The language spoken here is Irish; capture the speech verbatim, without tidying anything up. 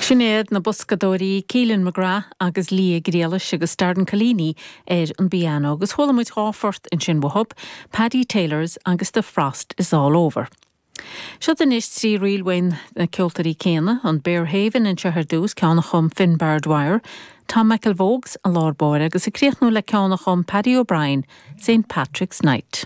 Sin iad na boscadóirí Keelan McGrath agus Lia Griallais agus Darren Collini ar an bpianó agus chuala muid dhá phort ansin uathu, Paddy Taylor's agus The Frost is All Over. Seo anois trí ríl ó na ceoltóirí céanna an Bearhaven anseo ar dtús ceann a chum Finbar Dwyer, Tom McElvogues i lár báire agus ag críochnú le ceann a chum Paddy O'Brien, St Patrick's Night.